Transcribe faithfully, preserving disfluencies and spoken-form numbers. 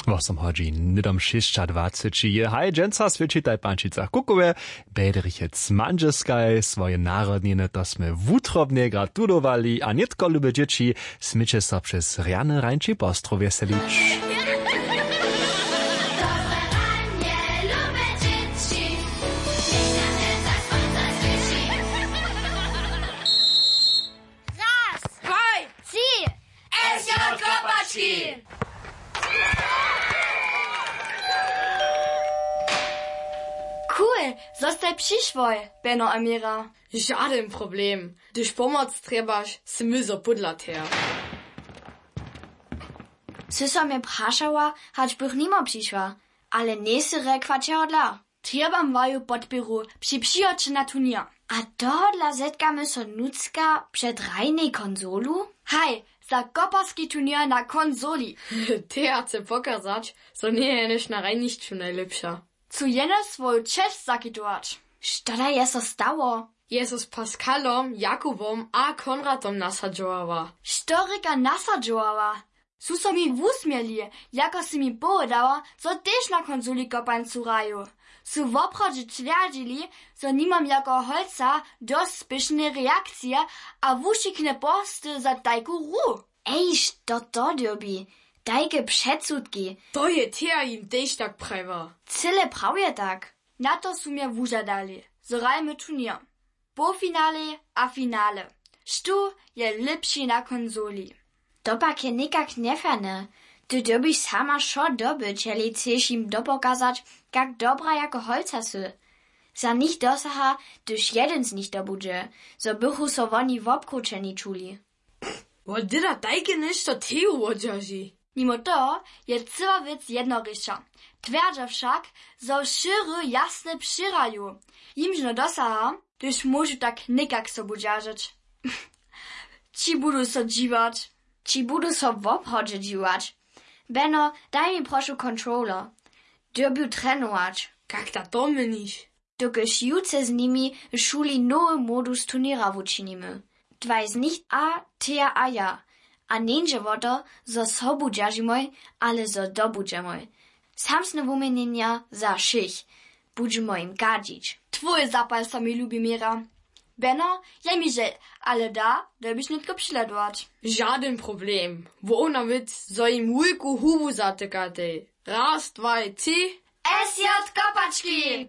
Wosomhodźin hnydom šěsćadwaceći je haj dźensa swětšitaj pančica kukowe. Bedrichec mandźeskaj swoje narodniny to smy wutrobnje gratulowali a nětko lube dźěći, směće so přez rjany rańči postrowje selić. Raz, dwaj, tři. S J Kopački. Cool, zo staj přišłoj, Beno a Mira. Žadyn problem. Hdyž pomoc trjebaš, smy zo pódla teja. Sy so mje prašała, hač bych nimo přišła, ale njejsy rekła čehodla. Trjebam waju podpěru při přihoće na turněr. A tohodla zetkamy so nutřka před hrajnej konsolu? Haj, za koparski turněr na konsoli. Teja chce pokazać, zo njeje jenož na hrajnišću najlěpša. Chcu jenož swoju česć zakitować. Što da je so stało? Je so z Pascalom, Jakubom a Konradom nasadźowała. Što rěka nasadźowała? Su so mi wusměli, jako sy mi powědała, zo tež na konsoli kopańcu hraju. Su woprawdźe twjerdźili, zo nimam jako holca dosć spěšnej reakcije a wušikne porsty za tajku hru. Ej, što to dyrbi? Tajke předsudki. To je teja jim tež tak prajiła. Cyle prawje tak. Na to su mje wužadali, zo hrajemy turněr. Połfinale a finale. Štó je lěpši na konsoli? To pak je někak njeferne. Ty dyrbiš sama wšo dobyć, jeli chceš jim dopokazać, kak dobra jako holca sy. Za nich dosaha, hdyž jedyn z nich dobudźe, zo bychu so woni wobkrućeni čuli. Wot dyda tajke něšto teju wodźerži. Nimo toho je cyła wěc jednoriša. Twjerdźa wšak, zo wšěry jasnje přěhraju. Jimž no dosaha, hdyž móžu tak někak sobu dźeržeć. Ći budu so dźiwać. Ći budu so wobhodźe dźiwać. Beno, daj mi prošu controller. Dyrbju trenować. Kak da to měniš? Dokelž jutře z nimi w šuli nowy modus turněra wučinimy. Dwaj z nich a teja a ja. A njeńdźe wo to, zo sobu dźeržimoj, ale zo dobudźemoj. Samsne wuměnjenja za wšěch. Budźemoj jim gadźić. Twój zapal so mi lubi, Mira. Beno, je mi žel, ale da, dyrbiš nětko přihledować. Žadyn problem. Wona wěc, zo jim wulku hubu zatykatej. Raz, dwaj, tři. S J Kopački!